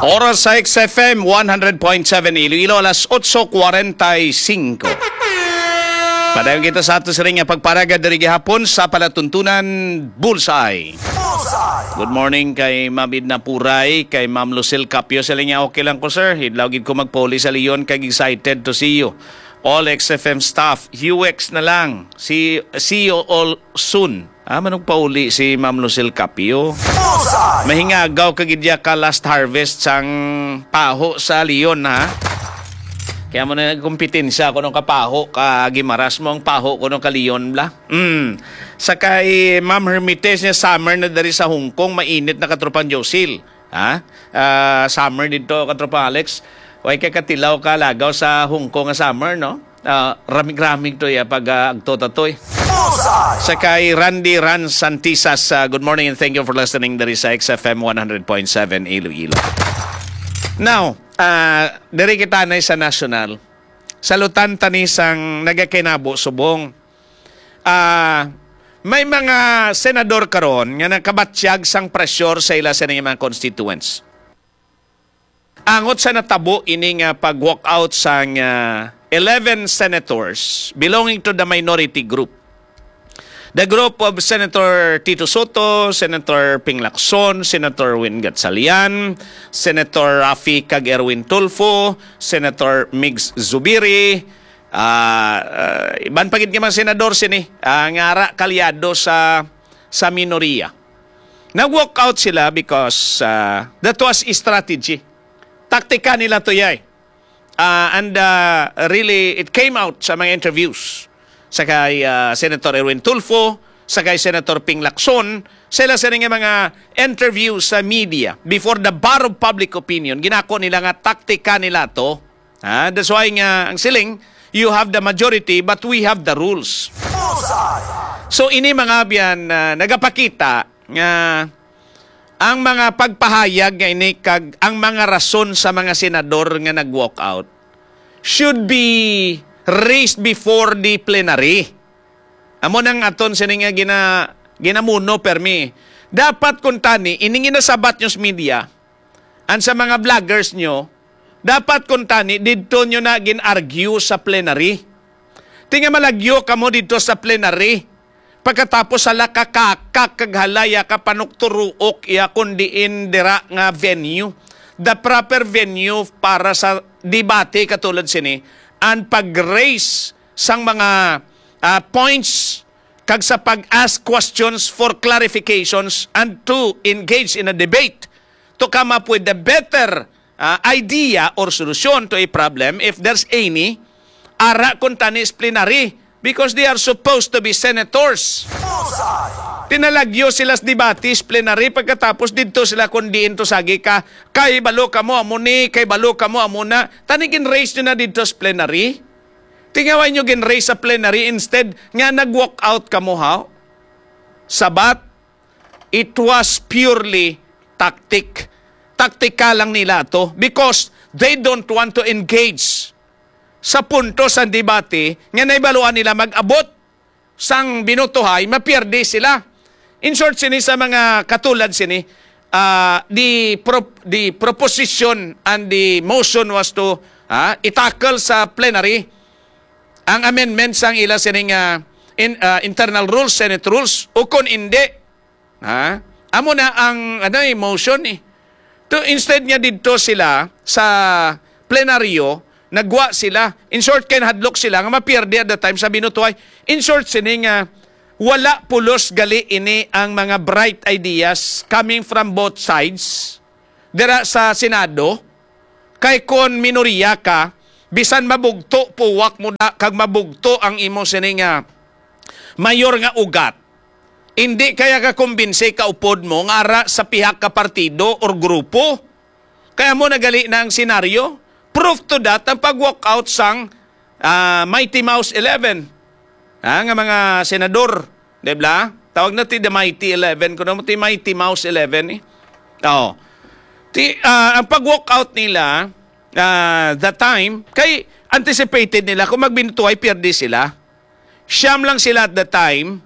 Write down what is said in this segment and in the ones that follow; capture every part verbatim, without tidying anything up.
Oras sa X F M one hundred point seven Iloilo, alas otso cuarenta y cinco. Padayon kita sa ato sining nga pagparaga diri gihapon sa palatuntunan Bullseye. Bullseye! Good morning kay Ma'am Edna Puray, kay Ma'am Lucille Capio. Sa linya, okay lang ko, sir. Hidlaw gid ko magpauli sa Leon, kag excited to see you. All X F M staff, U X na lang. See, see you all soon. Ah, manugpauli si Ma'am Lucille Capio. Bullseye! Mahingagaw ka gid ya ka last harvest sang paho sa Leon, ha? Kaya mo na nagkumpetensya kung anong kapaho ka Gimaras mo ang paho kung anong ka Leon bla. Mm. Sa kay Ma'am Hermites niya, summer na dari sa Hong Kong, mainit na, katropang Josil. Ha? Ah, summer dito, katropang Alex. Way ka katilaw ka lagaw sa Hong Kong nga summer, no? Ah, ramig-ramig to ya pag ah, agto tatoy. Bullseye! Sa kay Randy Ran Santisas, ah, good morning and thank you for listening diri sa X F M one hundred point seven Iloilo. Now, ah, diri kita na sa national. Salutan tani sang nagakinabo subong. Ah, may mga senador karon nga nakabatyag sang pressure sa ila sa mga constituents. Angot sa natabo ini nga pag-walkout sang ah, eleven senators belonging to the minority group. The group of Senator Tito Soto, Senator Ping Lacson, Senator Win Gatchalian, Senator Raffy kag Erwin Tulfo, Senator Migs Zubiri, ah, ah, iban pa gid nga mga senador sini, ah, nga ara kalyado sa, sa minoriya. Nag-walk out sila because ah, that was a strategy. Taktika nila to, yay. Ah, and ah, really, it came out sa mga interviews sa kay ah, Senator Erwin Tulfo, sa kay Senator Ping Lacson, sila sa nga mga interview sa media before the bar of public opinion. Ginako nila nga taktika nila to. Ha? That's why nga ang siling, you have the majority but we have the rules. Bullseye! So ini, mga abyan, ah, nagapakita nga ang mga pagpahayag nga ini kag ang mga rason sa mga senador nga nag-walk out should be raised before the plenary. Amo nang aton sini nga gina, ginamuno permi. Dapat kuntani ining ginasabat news media and sa mga vloggers nyo, dapat kuntani didto nyo na gin-argue sa plenary. Ti nga malagyo kamo didto sa plenary, pagkatapos sa lakakakak kag halaya ka panukturuok iya kun diin dira nga venue, the proper venue para sa debate katulad sini, and pag-raise sang mga ah, points kag sa pag-ask questions for clarifications and to engage in a debate to come up with the better ah, idea or solusyon to a problem if there's any, ara kuntani sa plenary, because they are supposed to be senators. Bullseye! Pinalagyo sila sa debate sa plenary, pagkatapos didto sila kun diin to sagi ka, kay balo kamo amo ni, kay balo kamo amo na. Tani gin-raise nyo na didto sa plenary. Ti nga way nyo gin-raise sa plenary instead nga nag-walk out kamo, ha? Sabat, it was purely tactic. Taktika lang nila to because they don't want to engage sa punto sa debate nga nahibaluan nila mag-abot sang binutuhay, mapierde sila. In short, sini sa mga katulad sini, ah, the pro-, the proposition and the motion was to, ah, i-tackle sa plenary ang amendment sang ila sining ah, in, ah, internal rules, Senate rules, o kon indi, ha? Amo na ang, ano, eh, motion, eh. To, instead nga didto sila sa plenaryo, nagwa sila. In short, kay nahadlok sila nga mapierde at the time sa binutuhay. In short, sini nga wala pulos gali ini ang mga bright ideas coming from both sides dira sa Senado. Kay kon minoriya ka, bisan mabugto, puwak mo na kag mabugto ang imo sini nga mayor nga ugat, hindi kaya ka kumbinsi ka upod mo nga ara sa pihak ka partido or grupo. Kaya mo nagali na ang senaryo. Proof to that ang pag-walk out sang ah, Mighty Mouse eleven. Ah, nga mga senador, di ba? Tawag na ti the Mighty eleven, kuno mo ti Mighty Mouse eleven, eh. Oh. Ti, ah, ang pag-walk out nila, ah, that time, kay anticipated nila kung magbinutuhay, pierde sila. Siyam lang sila at the time,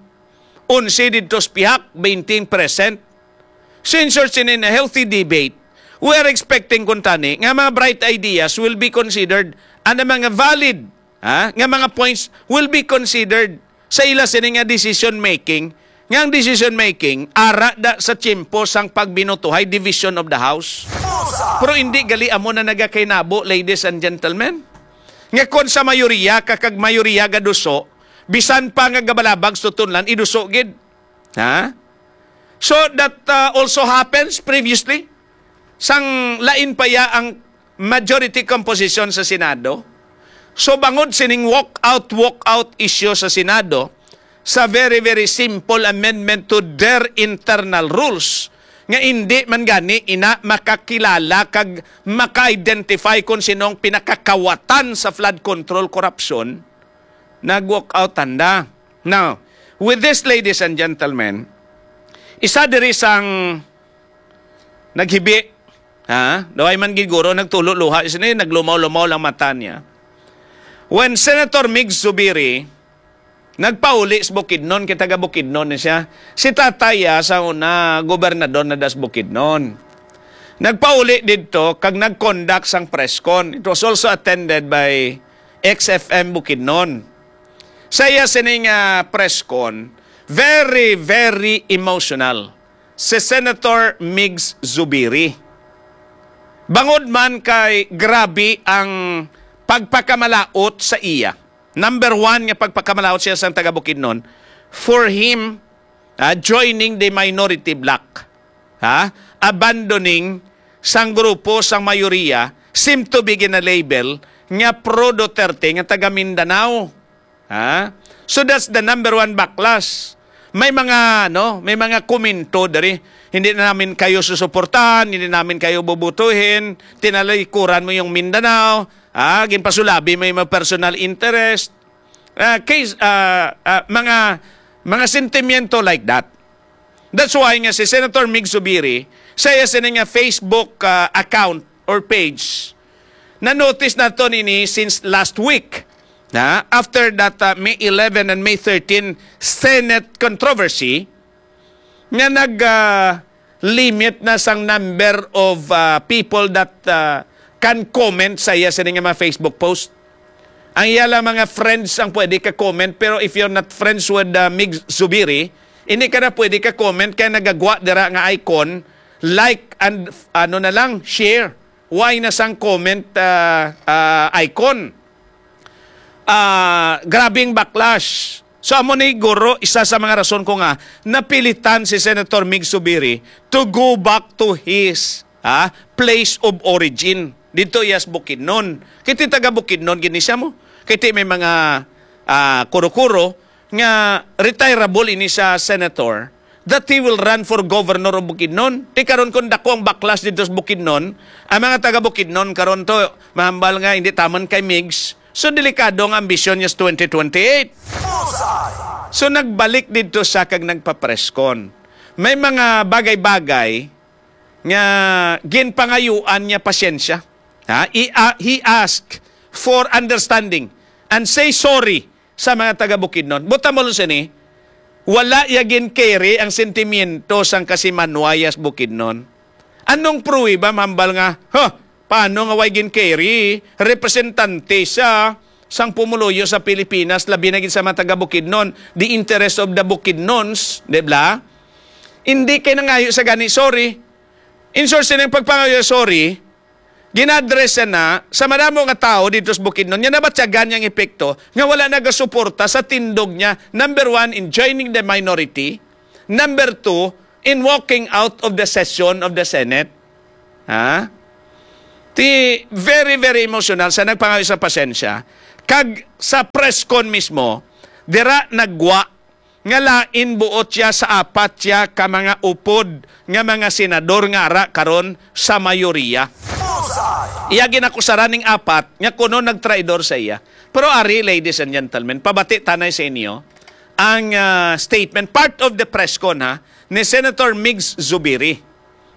onse didto sa pihak, twenty present. So, in short, sini na healthy debate. We are expecting, kuntani, nga mga bright ideas will be considered, and ang mga valid, ha, nga mga points will be considered sa ila sini nga decision making, nga ang decision making ara da sa tiyempo sang pagbinutuhay, division of the house. Pero hindi gali amo na nagakainabo, ladies and gentlemen, nga kon sa mayoriya ka kag mayoriya gaduso, bisan pa nga gabalabag sa tunlan, iduso gid. Ha? So that, uh, also happens previously. Sang lain pa ya ang majority composition sa Senado. So bangod sining walk out, walk out issue sa Senado, sa very, very simple amendment to their internal rules, nga hindi man gani ina makakilala kag maka-identify kung sinong pinakakawatan sa flood control corruption, nag-walk out tanda. Now, with this, ladies and gentlemen, isa diri sang naghibi, ha? Daw ay man gid guro, nagtulo luha, sini naglumaw-lumaw lang mata niya. When Senator Mig Zubiri nagpauli sa Bukidnon, kay taga Bukidnon ni siya. Si tatay, ah, sa una, gobernador na das Bukidnon. Nagpauli didto kag nag-conduct sang press con. It was also attended by X F M Bukidnon. Sa iya sining, ah, press con, very, very emotional si Senator Migs Zubiri. Bangod man kay grabe ang pagpakamalaot sa iya. Number one nga pagpakamalaot siya sang taga Bukidnon, for him, ah, joining the minority bloc, ha? Abandoning sang grupo sang mayoriya, seem to be gina-label nga pro-Duterte nga taga Mindanao. Ha? So that's the number one backlash. May mga, no, may mga komento diri, "Hindi na namin kayo susuportahan, hindi namin kayo bubutuhin, tinalikuran mo yung Mindanao, ah, ginpasulabi mo yung mga personal interest." Ah, case, ah, ah, mga, mga sentimiento like that. That's why nga si Senator Mig Zubiri, sa iya sini nga Facebook, ah, account or page, na-notice nato nini since last week, na after that, ah, May eleven and May thirteen Senate controversy, nga nag, ah, limit na sang number of, ah, people that, ah, can comment sa iya sini nga mga Facebook post. Ang iya lang mga friends ang pwede ka comment, pero if you're not friends with, ah, Mig Zubiri, hindi ka na pwede ka comment kay nagagwa dira nga icon, like and, ano na lang, share. Why na sang comment, ah, ah, icon? Ah, grabing backlash. So, amo ni guro, isa sa mga rason ko nga napilitan si Senator Mig Zubiri to go back to his, ah, place of origin. Dito iyas Bukidnon. Kiti taga Bukidnon gini siya mo. Kiti may mga, ah, kuro-kuro nga retirable ini sa senator, that he will run for governor of Bukidnon. Ti karon, kung dako ang backlash dito sa Bukidnon, ang mga taga Bukidnon karon to, mahambal nga hindi taman kay Migs. So, delikado ang ambisyon niya sa twenty twenty-eight. So, nagbalik dito sa kag nagpa-press con. May mga bagay-bagay nga ginpangayuan niya pasyensya. Ha? I-, a-, he asked for understanding and say sorry sa mga taga Bukidnon. Buta mo sini, wala ya gin-carry ang sentimiento sang kasimanwayas Bukidnon. Anong pruweba, mahambal nga, ha, paano nga way gin-carry? Representante sa sang pumuluyo sa Pilipinas, labi na gid sa mga taga Bukidnon, the interest of the Bukidnons, di ba? Hindi kay nangayo sa gani, sorry. In short, sining pagpangayo, sorry, gina-address na sa madamo nga tawo dito sa Bukidnon nga nabatyagan niyang epekto nga wala nagasuporta sa tindog niya, number one, in joining the minority, number two, in walking out of the session of the Senate. Ha? Ti, very, very emotional sa nagpangayo sa pasensya. Kag sa press con mismo, dira nagwa nga lain buot siya sa apat siya ka mga upod nga mga senador nga ara karon sa mayoriya. Iya ginakusaran ning apat nga kuno nagtraidor sa iya. Pero ari, ladies and gentlemen, pabati tanay sa inyo ang, ah, statement, part of the press con, ha, ni Senator Migs Zubiri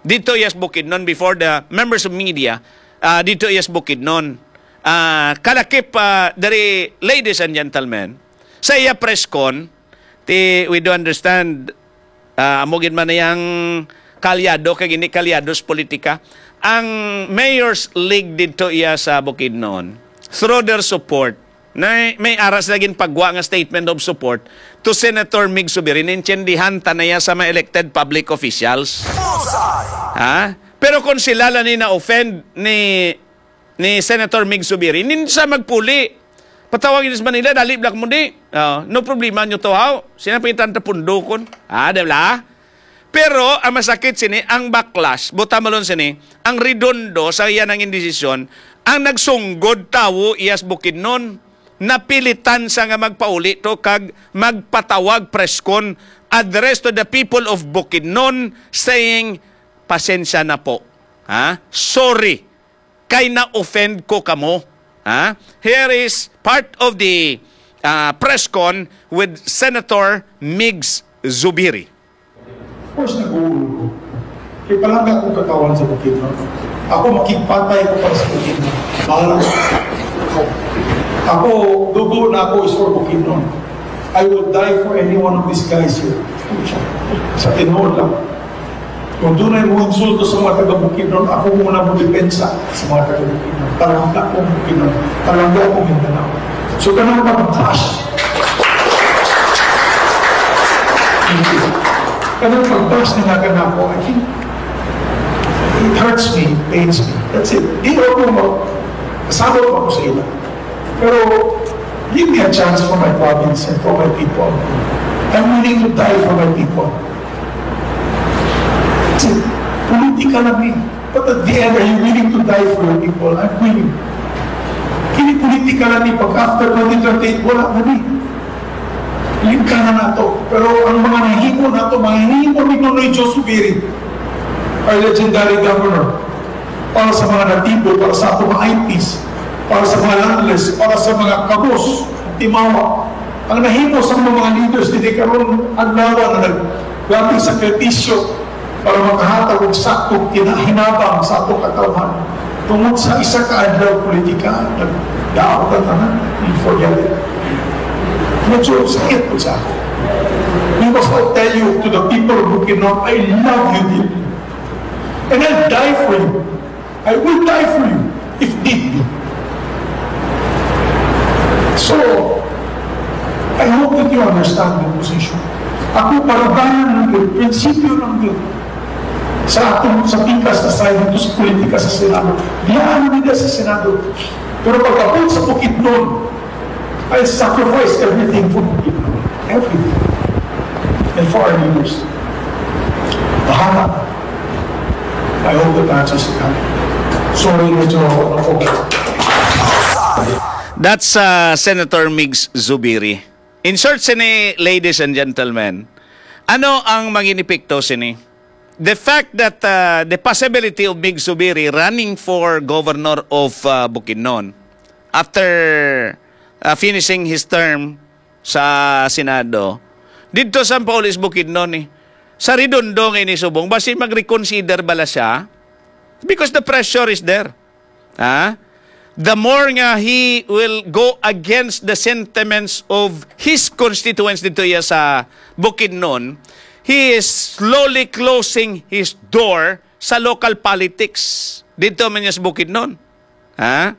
dito, yes, Bukidnon, before the members of media, ah, dito, yes, Bukidnon. Ah, kalakip, ah, diri, ladies and gentlemen, sa iya press con, ti, we do understand, ah, amo gid man na yang kalyado, kay gini kalyado sa politika. Ang Mayor's League didto iya sa Bukidnon, through their support, na may ara sila ginpagwa nga statement of support to Senator Mig Zubiri. Naintindihan ta na iya sa mga elected public officials. Bullseye! Ha? Pero kung sila lang ni na-offend ni, ni Senator Mig Zubiri, hindi sa magpuli. Patawag ini sa Manila, dali, black mo di. Oh, no problema nyo to, how? Sina pa yung tanta pundukon? Ah, di ba? Pero ang masakit sini, ang backlash, buta malon sini, ang Redondo sa iya nang indesisyon, ang nagsunggod tawo iyas Bukidnon, napilitan sa nga magpauli to kag magpatawag press con, address to the people of Bukidnon, saying, "Pasensya na po. Ha? Sorry kay na-offend ko kamo." Ha? Here is part of the, ah, press con with Senator Migs Zubiri. Of course, nag-uulol ko. Kay palangga akong katawan sa Bukidnon. Ako makigpatay ko para sa Bukidnon. Bahala na ako. Ako, dugo na ako is for Bukidnon. I will die for any one of these guys here. Sa tinuod lang. Kung dunay mo insulto sa mga taga Bukidnon, ako muna mo depensa sa mga taga Bukidnon. Palangga ko Bukidnon. Palangga ko Mindanao. So, kanang pag-bash. Kanang pag-bash na nga kanako, I think, it hurts me, it pains me. That's it. Di ako mo, kasabot ako sa ila. Pero, give me a chance for my province and for my people. I'm willing to die for my people. That's it. Politika lang eh. But at the end, are you willing to die for your people? I'm willing. Kini politika lang ni pag after twenty twenty-eight, wala na ni. Limka na nato. Pero ang mga nahimo nato, mga nahimo ni Nonoy Joe Subiri, our legendary governor, para sa mga natibo, para sa atong mga I Ps, para sa mga landless, para sa mga kabos, timawa. Ang nahimo sa mga leaders dili karon adlaw nga nag-, grabe sakripisyo para makahatag og saktong kinahinabang sa atong katawhan. Tungod sa isa ka adlaw politika, nagdaot ang tanan, we forget it. Medyo sakit po sa ako. We must all tell you, to the people of Bukidnon, I love you dearly. And I'll die for you. I will die for you if need be. So, I hope that you understand my position. Ako, paruganan lang yun, prinsipyo lang yun. Sa atong, sa pikas na side dito sa politika sa Senado. Biyaan nila sa Senado. Pero pagkapit sa Bukidnon, I sacrifice everything for the people. Everything. And for our leaders. Bahala. I hope that answers the question. Sorry, medyo ako. That's uh, Senator Migs Zubiri. In short, sini, ladies and gentlemen, ano ang maging epekto sini? The fact that uh, the possibility of Migs Zubiri running for governor of uh, Bukidnon after uh, finishing his term sa Senado, didto sa Paulis Bukidnon eh. Sa Redondo nga ini subong, basi mag-reconsider bala siya? Because the pressure is there. Ha? The more nga he will go against the sentiments of his constituents dito iya sa Bukidnon, he is slowly closing his door sa local politics dito man niya sa Bukidnon. Ha?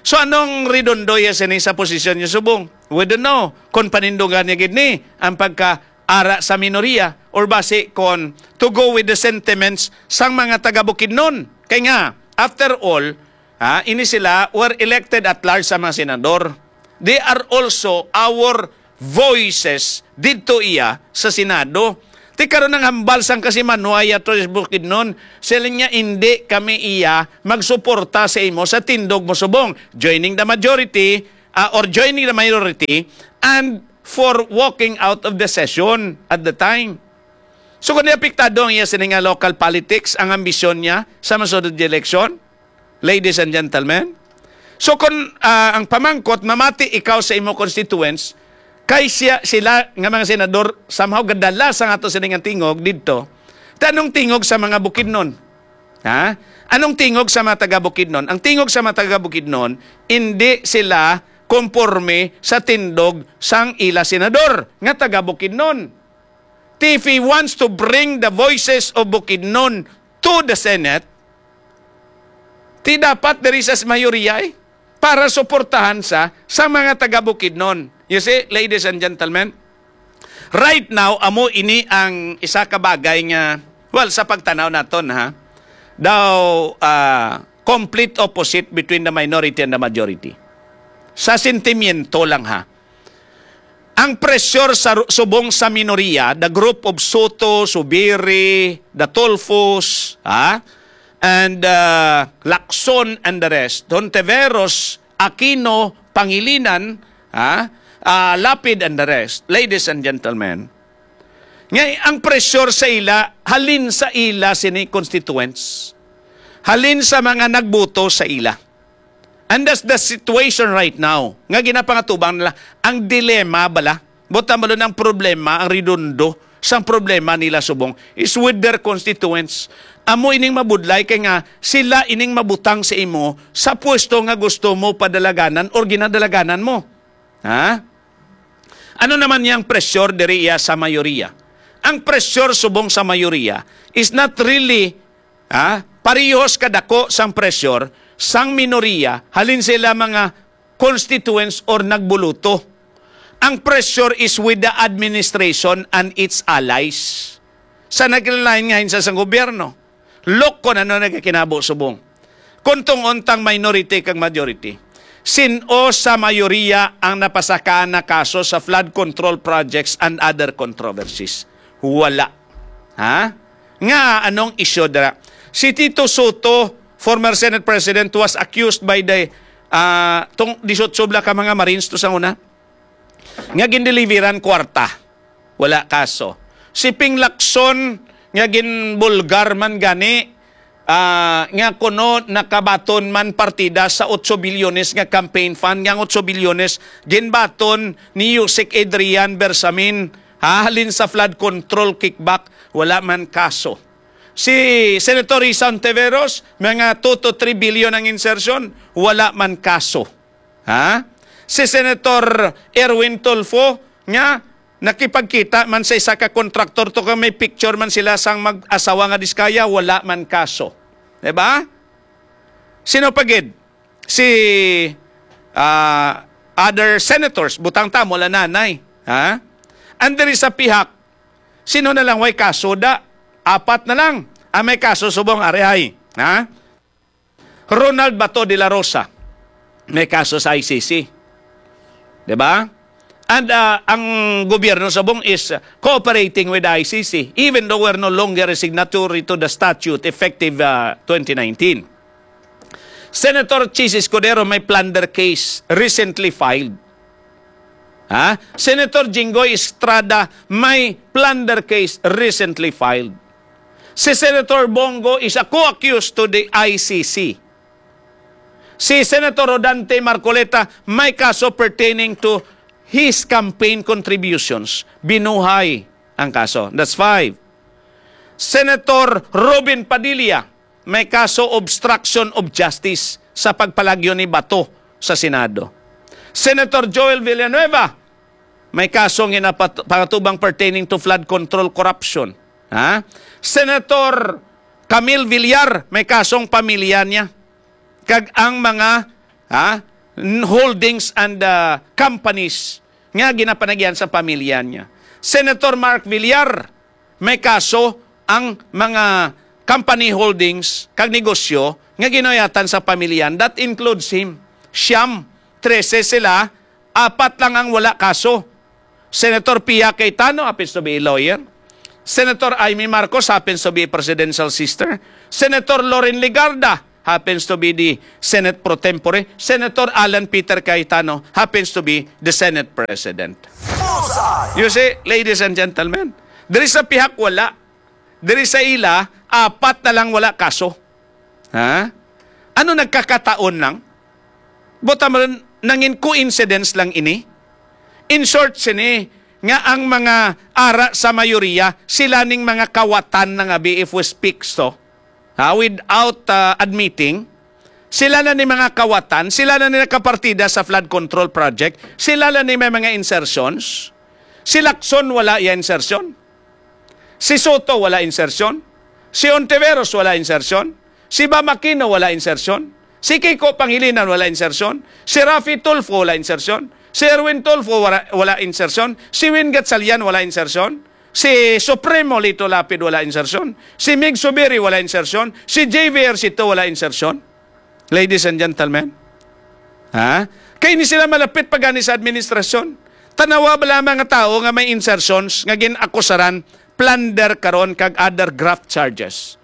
So anong Redondo iya sini sa posisyon niya subong? We don't know kung panindugan niya gid ni ang pagka ara sa minorya or basi kon to go with the sentiments sang mga taga Bukidnon. Kay nga, after all, ha, ini sila were elected at large sa mga senador. They are also our voices didto iya sa Senado. Ti karon ang hambal sang kasimanwa iya to sa Bukidnon, sila niya, "Indi kami iya magsuporta sa imo sa tindog mo subong, joining the majority, ah, or joining the minority, and for walking out of the session at the time." So kung apektado ang iya sini nga local politics, ang ambisyon niya sa masunod nga eleksyon, ladies and gentlemen, so kung ah, ang pamangkot, mamati ikaw sa imo constituents, kay siya, sila nga mga senador somehow gadala sa ato sini nga tingog didto, ta anong tingog sa mga Bukidnon? Ha? Anong tingog sa mga taga Bukidnon? Ang tingog sa mga taga Bukidnon, hindi sila konporme sa tindog sang ila senador nga taga Bukidnon. If he wants to bring the voices of Bukidnon to the Senate, ti dapat diri sa mayorya, eh, para suportahan sa, sa mga taga Bukidnon. You see, ladies and gentlemen, right now, amo ini ang isa ka bagay nga, well, sa pagtanaw naton, ha, daw, ah, complete opposite between the minority and the majority. Sa sentimiento lang, ha. Ang pressure sa ru-, subong sa minorya, the group of Soto, Zubiri, the Tulfos, ha? And, uh, Lacson and the rest, Hontiveros, Aquino, Pangilinan, ha? Ah, Lapid and the rest, ladies and gentlemen. Nga ang pressure sa ila, halin sa ila sini constituents. Halin sa mga nagboto sa ila. And that's the situation right now. Nga ginapangatubang nila, ang dilema bala, buta mo ang problema, ang redondo sang problema nila subong is with their constituents. Amo ining mabudlay kay nga sila ining mabutang sa imo sa pwesto nga gusto mo padalaganan or ginadalaganan mo. Ha? Ano naman yang pressure diri iya sa mayoriya? Ang pressure subong sa mayoriya is not really, ha, parehos kadako sang pressure sang minoriya halin sila mga constituents or nagbuluto. Ang pressure is with the administration and its allies. Sa naglain-lain nga ahensya sang gobyerno. Look kung ano nagakinabo subong. Kung tungod tang minority kag majority, sin-o sa mayoriya ang napasakaan na kaso sa flood control projects and other controversies? Wala. Ha? Nga anong isyu dira? Si Tito Soto, former Senate President, was accused by the, ah, tong disiotso bala ka mga Marines to sa una nga gindeliveran kwarta. Wala kaso. Si Ping Lacson nga ginbulgar man gani, ah, nga kuno nakabaton man partida sa otso bilyones nga campaign fund, nga ang otso bilyones ginbaton ni Usec Adrian Bersamin, ha, halin sa flood control kickback, wala man kaso. Si Senator Risa Ontiveros, mga two to three billion ang insertion, wala man kaso. Ha? Si Senator Erwin Tulfo nga nakipagkita man sa isa ka kontraktor to, kay may picture man sila sang mag-asawa nga diskaya, wala man kaso. Di ba? Sino pa gid? Si, ah, other senators, butang ta, mula nanay. Ha? And there is a pihak, sino na lang way kaso da? Apat na lang ang may kaso subong ari ay. Ha? Ronald Bato de la Rosa, may kaso sa I C C. Di ba? And, ah, ang gobyerno subong is cooperating with the I C C, even though we're no longer a signatory to the statute effective, ah, twenty nineteen. Senator Chiz Escudero may plunder case recently filed. Ha? Senator Jinggoy Estrada may plunder case recently filed. Si Senator Bong Go is a co-accused to the I C C. Si Senator Rodante Marcoleta may kaso pertaining to his campaign contributions. Binuhay ang kaso. That's five. Senator Robin Padilla may kaso obstruction of justice sa pagpalagyo ni Bato sa Senado. Senator Joel Villanueva may kaso nga ginapat-, pangatubang pertaining to flood control corruption. Ha? Senator Camille Villar may kasong pamilya niya kag ang mga, ha, n-, holdings and, ah, companies nga ginapanagyan sa pamilya niya. Senator Mark Villar may kaso ang mga company holdings kag negosyo nga ginuyatan sa pamilya. That includes him. Siyam, trese sila, apat lang ang wala kaso. Senator Pia Cayetano happens to be a lawyer. Senator Imee Marcos happens to be a presidential sister. Senator Loren Legarda happens to be the Senate pro tempore. Senator Alan Peter Cayetano happens to be the Senate President. Bullseye! You see, ladies and gentlemen, diri sa pihak wala, diri sa ila, apat na lang wala kaso. Ha? Ano nagkakataon lang? Buta mo, nangin coincidence lang ini? In short, sini nga ang mga ara sa mayoriya, sila ning mga kawatan na nga B F O speaks to. Ha? Without, ah, admitting, sila na ni mga kawatan, sila na ni nakapartida sa flood control project, sila na ni may mga insertions. Si Lacson wala ya insertion. Si Soto wala insertion. Si Ontiveros wala insertion. Si Bam Aquino wala insertion. Si Kiko Pangilinan wala insertion. Si Raffy Tulfo wala insertion. Si Erwin Tulfo wala, wala insertion. Si Win Gatchalian wala insertion. Si Supremo Lito Lapid wala insertion. Si Mig Zubiri wala insertion. Si J V Ejercito wala insertion. Ladies and gentlemen, ha? Kay ni sila malapit pa gani sa administrasyon. Tanawa ba lamang nga tawo nga may insertions nga gin-akusaran plunder karon kag other graft charges?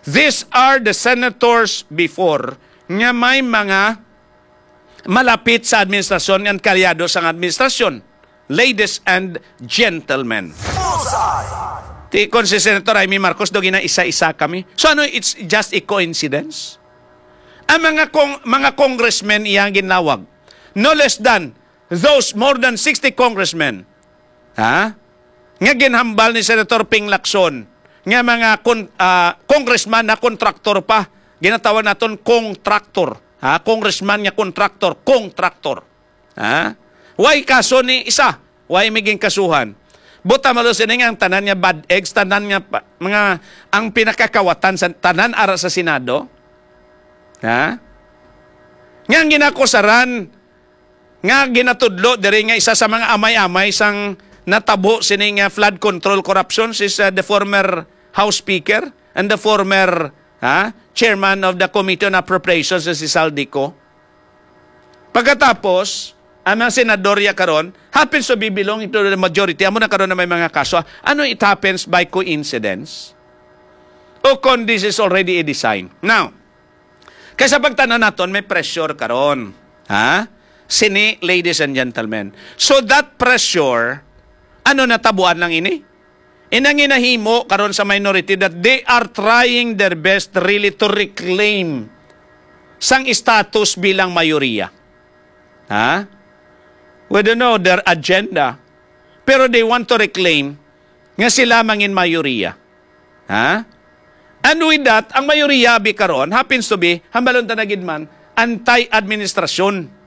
These are the senators before nga may mga malapit sa administrasyon nga kalyado sang administrasyon. Ladies and gentlemen. Ti kon si Senator Imee Marcos, do gina-isa-isa kami. So ano, it's just a coincidence? Ang mga kong, mga congressmen iyang ginlawag, no less than those more than sixty congressmen, ha? Nga ginhambal ni Senator Ping Lacson nga mga kon-, ah, congressman na kontraktor pa. Ginatawag naton kontraktor, ha? Congressman nga kontraktor, kontraktor. Ha? Way kaso ni isa? Way may ginkasuhan? Buta malo sini nga ang tanan nga bad eggs, tanan nga pa, mga, ang pinakakawatan sa tanan ara sa Senado. Ha? Nga ang ginakusaran, nga ginatudlo diri nga isa sa mga amay-amay sang natabo sini nga flood control corruptions is, uh, the former House Speaker and the former, ha, Chairman of the Committee on Appropriations, si Zaldy Co. Pagkatapos, ang mga senador ya karon happens to be belonging to the majority. Amo na karon na may mga kaso. Ano, it happens by coincidence? O kon this is already a design? Now, kay sa pagtan-aw naton, may pressure karon. Ha? Sini, ladies and gentlemen. So that pressure, ano natabuan lang ini? Inang ginahimo karon sa minority that they are trying their best really to reclaim sang status bilang mayoriya. Ha? We don't know their agenda, pero they want to reclaim nga sila mangin mayoriya. Ha? And with that, ang mayoriya bi karon happens to be, hambalon ta na gid man, anti-administrasyon.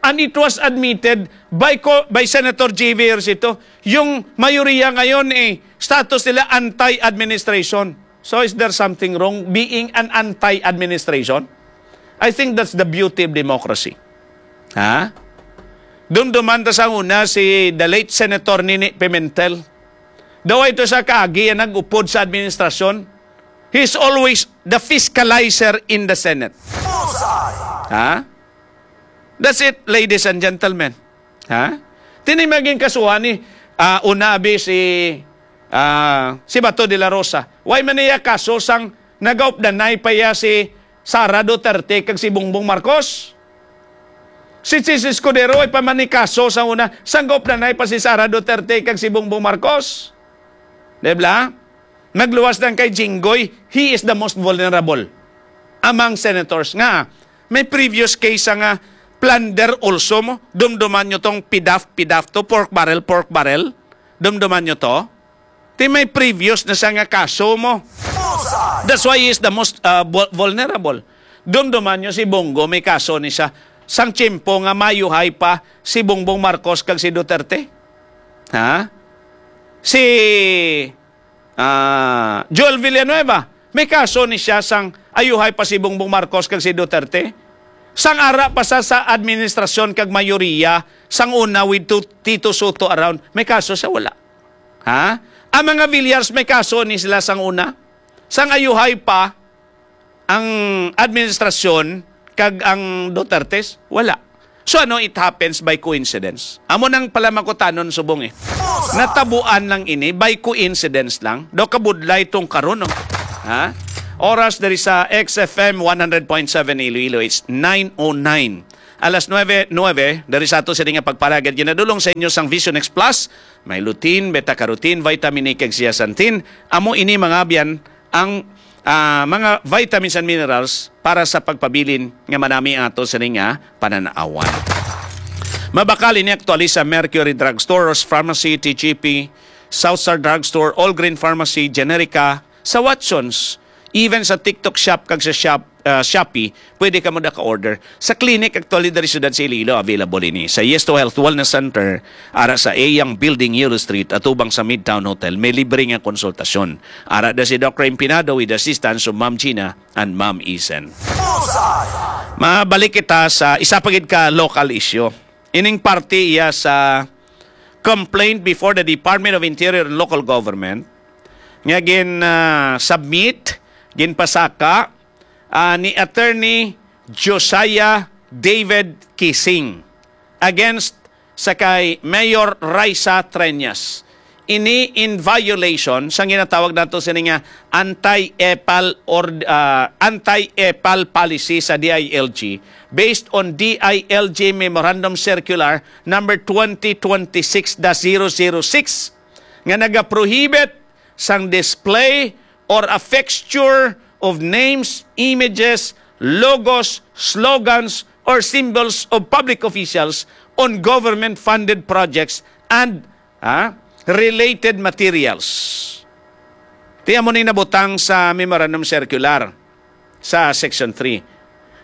And it was admitted by co-, by Senator J V Ejercito, yung mayoriya ngayon, eh, status nila anti-administration. So is there something wrong being an anti-administration? I think that's the beauty of democracy. Ha? Dumduman ta sa una si the late Senator Nini Pimentel. Daw ito sa kaagi ang nag-upod sa administrasyon. He's always the fiscalizer in the Senate. Ha? That's it, ladies and gentlemen. Ha? Tini maging kasuhan ni, ah, una abi si, ah, si Bato de la Rosa. Why man niya kaso sang nagaupdanay pa iya si Sara Duterte kag si Bongbong Marcos? Si Chiz Escudero ay pa man ni kaso sa una, sang gaupdanay pa si Sara Duterte kag si Bongbong Marcos. Di ba? Nagluwas lang kay Jinggoy, he is the most vulnerable among senators. Nga, may previous case sa nga plunder also mo. Dumduman nyo tong pidaf, pidaf to, pork barrel, pork barrel. Dumduman nyo to. Ti may previous na sa nga kaso mo. That's why he is the most, uh, vul-, vulnerable. Dumduman nyo si Bongo, may kaso ni siya. Sang tiyempo nga mayuhay pa si Bongbong Marcos kag si Duterte. Ha? Si Ah, Joel Villanueva, may kaso ni siya sang ayuhay pa si Bongbong Marcos kag si Duterte. Sang ara pa sa, sa administrasyon kag mayoriya, sang una with Tu-, Tito Sotto around, may kaso siya, wala. Ha? Ang mga Villars, may kaso ni sila sang una. Sang ayuhay pa, ang administrasyon kag ang Dutertes, wala. So ano, it happens by coincidence? Amo nang pala makutanon subong eh. Natabuan lang ini by coincidence lang. Daw kabudlay tong karon, no? Ha? Oras diri sa X F M one hundred point seven Iloilo, it's nine oh nine. Alas nuebe, nuebe, diri sa ato sini nga pagparagad, ginadulong sa inyo sang Vision X Plus. May lutein, beta-carotene, vitamin A kag zeaxanthin. Amo ini, mga abyan, ang, ah, mga vitamins and minerals para sa pagpabilin nga manami ang ato sini nga panan-awan. Mabakal ini aktuali sa Mercury Drugstore, Ross Pharmacy, T G P, South Star Drugstore, All Green Pharmacy, Generica, sa Watsons, Even sa TikTok Shop kag sa Shop, ah, Shopee, pwede ka mo naka-order. Sa clinic, actually, diri siyudad sa Iloilo, available ini. Sa Yes to Health Wellness Center, ara sa Eyang Building, Euro Street, atubang sa Midtown Hotel, may libre nga konsultasyon. Ara da si Doc Empinado with assistance of Ma'am Gina and Ma'am Isen. Mabalik kita sa isa pa gid ka local issue. Ining parte iya sa complaint before the Department of Interior and Local Government nga gin, ah, submit, ginpasaka, ah, ni Attorney Josiah David Kising against sa kay Mayor Raisa Treñas. Ini in violation sa ginatawag nato sini nga anti-epal or, ah, anti-epal policy sa D I L G, based on D I L G Memorandum Circular number twenty twenty-six dash zero zero six, nga nagaprohibit sang display or a fixture of names, images, logos, slogans, or symbols of public officials on government-funded projects and, ah, related materials. Ti amo ni nabutang sa memorandum circular sa Section three.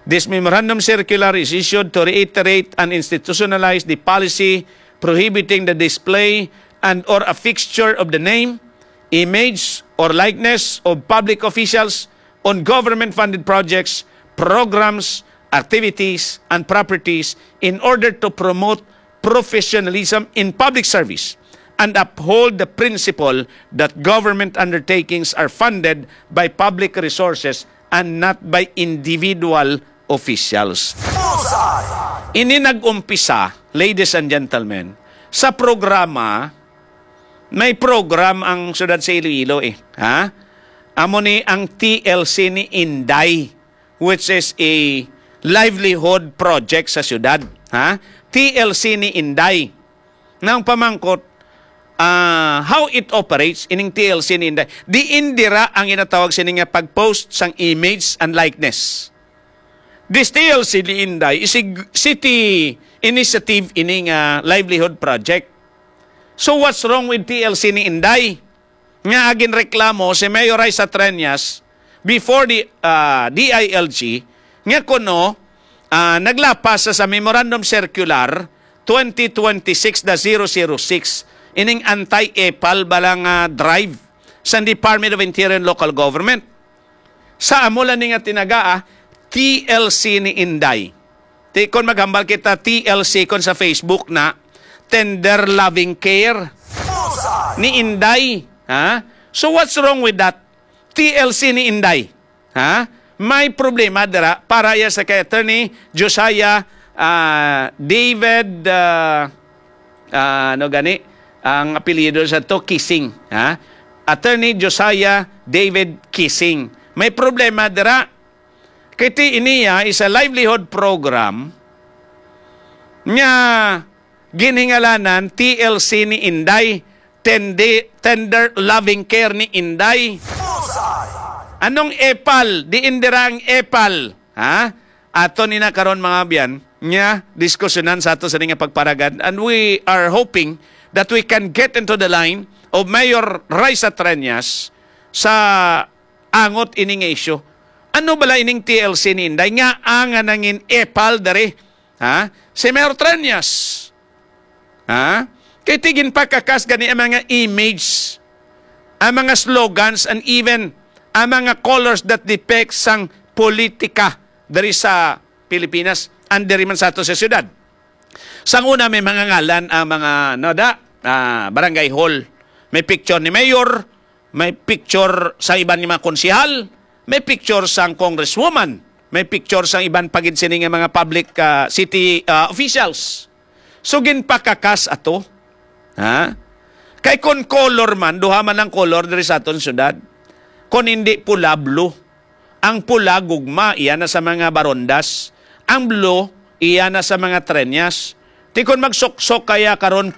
This memorandum circular is issued to reiterate and institutionalize the policy prohibiting the display and or a fixture of the name, image, or likeness of public officials on government-funded projects, programs, activities, and properties in order to promote professionalism in public service and uphold the principle that government undertakings are funded by public resources and not by individual officials. Ini nag-umpisa, ladies and gentlemen, sa programa, may program ang siyudad sa Iloilo eh. Ha? Amo ni ang T L C ni Inday, which is a livelihood project sa siyudad. Ha? T L C ni Inday. Nang pamangkot, ah, how it operates, ining T L C ni Inday. Diin dira ang ginatawag sini nga pag-post sang image and likeness. This T L C ni Inday is a g-, city initiative ini nga livelihood project. So what's wrong with T L C ni Inday? Nga agin reklamo si Mayor Raisa Treñas before the, ah, D I L G nga kuno, ah, naglapas sa, sa Memorandum Circular twenty twenty-six dash zero zero six, ining anti-epal bala nga drive sa Department of Interior and Local Government. Sa amo lang ni nga tinaga, ah, T L C ni Inday. Ti, kon maghambal kita, T L C kon sa Facebook na, Tender Loving Care ni Inday. Ha? So what's wrong with that? T L C ni Inday. Ha? May problema dira para iya sa kay Attorney Josiah, ah, David, ah, ah, ano gani ang apelyido sa to? Kising, ha? Attorney Josiah David Kising. May problema dira. Kay ti iniya is a livelihood program nga ginhingalanan T L C ni Inday, Tende-, Tender Loving Care ni Inday. Anong epal? Diin dira ang epal? Ha? Ato ni na karon, mga abyan, nga diskusyonan sa ato sa nga pagparagan, and we are hoping that we can get into the line of Mayor Raisa Treñas sa angot ini nga isyu. Ano bala ining T L C ni Inday nga ang nangin epal diri? Ha? Si Mayor Treñas. Ha? Kay ti ginpakakas gani ang mga image, ang mga slogans, and even ang mga colors that depict sang politika diri sa Pilipinas and diri man sa ato sa syudad. Sang una, may mga ngalan ang mga, no, da, ah, barangay hall. May picture ni mayor, may picture sa iban nga mga konsehal, may picture sang congresswoman, may picture sang iban pa gid sini nga mga public, ah, city, ah, officials. So, ginpakakas ato. Ha? Kay kon color man, duha man ang color diri sa aton syudad. Kon hindi pula, blue. Ang pula, gugma, iya na sa mga barondas. Ang blue, iya na sa mga trenyas. Ti kon magsuksok kaya karon,